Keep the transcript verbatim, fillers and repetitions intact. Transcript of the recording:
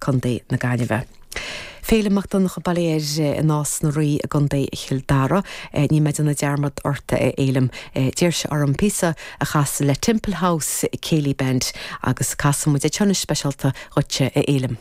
Contae na Gaillimhe. Féile Mac Donncha Bailéir i Nás na Rí i gContae Chill Dara, ní mé déanamh dearmad ort a Fhéilim d'iarr sé orm píosa a chasadh le Temple House Céilí Band agus casfaidh muid é seo speisialta dhuitse a Fhéilim.